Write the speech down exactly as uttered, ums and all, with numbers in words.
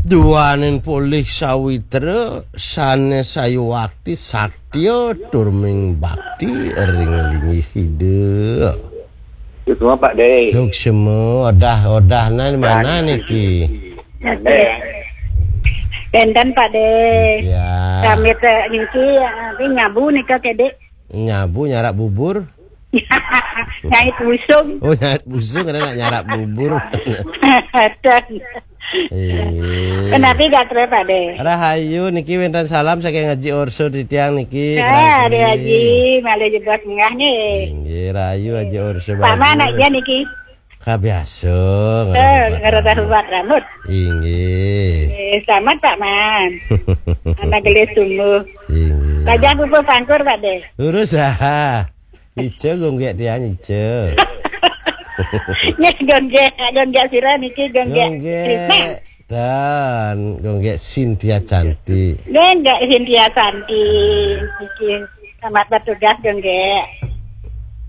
Duaning polih sawitra, sané sayuwakti satya tur ming bakti ring linggih Ida. Suksma, Pak De. Suksma, odah-odah nah mana niki? Wénten, Pak De. Ya. Kami téh niki, eh, nyabu nika, Kedé. Nyabu nyarap bubur. Nyait busung. Oh, nyait busung, ada nak nyarap bubur. Ada. Iya. Kenapi gatra, Pak De? Rahayu niki, wénten salam saking Haji Orso titiang niki. Ah, Haji, malih jebos munggah nih. Inggih, rahayu Haji Orso. Paman aja niki. Kabiasa. Eh, ngerasa hubat rambut. Inggih. Eh, selamat, Pak Man. Anak gelis sungguh. Inggih. Tajah pupuh pangkur, Pak De. Lurus dah. Ica gonggék tiang, ica. Nggih, gonggék, gonggék sira niki, gonggék Krisna. Gonggék dan gonggék Cynthia Cantik. Gonggék Cynthia Cantik niki. Selamat bertugas, gonggék.